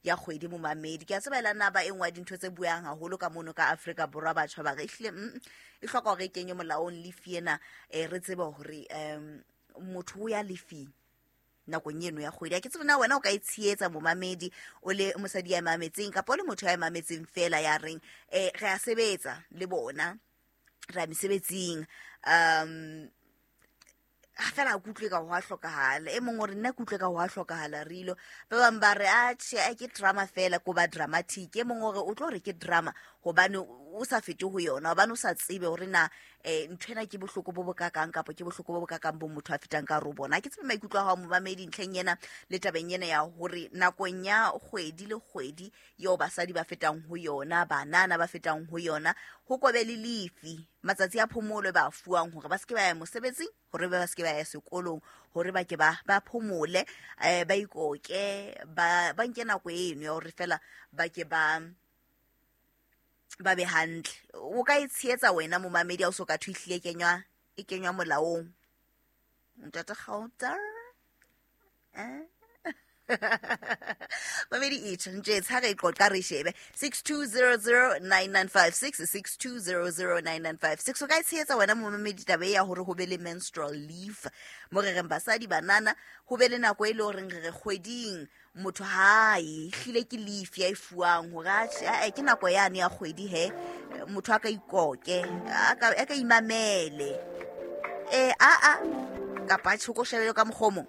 Ya kgwedi, momamedi, ke a tseba ela nna ba e nngwe ya dintho tse buang haholo ka mono ka Afrika Borwa. Batjha ba re ehlile e hloka hore e kenywe molaong lefi ena, re tsebe hore motho o ya lefing nakong eno ya kgwedi. Ha ke tsebe na wena o ka e tshehetsa, momamedi, o le mosadi ya mametseng kapa o le motho ya mametseng fela ya reng re a sebetsa le bona, re ya mesebetsing, ha fela a kutlwe ka ho a hlokahala. E mongwe o re nna ke utlwe ka ho a hlokahala rilo. Ba bang ba re atjhe, a ke drama fela, ko ba dramatic. E mongwe o re o tlo re ke drama hobane o sa fete ho yona, hobane o sa tsebe hore na nthwena ke bohloko bo bokakang kapa ke bohloko bo bokakang bo motho a fetang ka hare ho bona. Ha ke tsebe maikutlo a hao, momamedi, ntlheng ena le tabeng ena ya hore nakong ya kgwedi le kgwedi eo basadi ba fetang ho yona, banana ba fetang ho yona, ho kobe le lefi matsatsi a phomolo ba fuwang hore ba se ke ba ya mosebetsing, hore ba se ke ba ya sekolong, hore ba ke ba phomole, ba ikoke, ba nke nako eno ya hore fela ba ke ba be hantle. O ka e tshehetsa wena, momamedi, ha o so ka thwe ehlile e kenywa molaong, ntate Gauta? Mamedi, itjho nje ha re qoqa re shebe 62009956, 62009956. O ka e tshehetsa wena, momamedi, taba e ya hore ho be le menstrual leave, mo re reng basadi, banana, ho be le nako e le horeng re re kgweding motho hae hlile ke leave ya e fuwang hore atjhe, ae, ke nako yane ya kgwedi he motho a ka ikoke, a ka imamele, a kapa tjhe, ko shebele ka mokgwa o mong.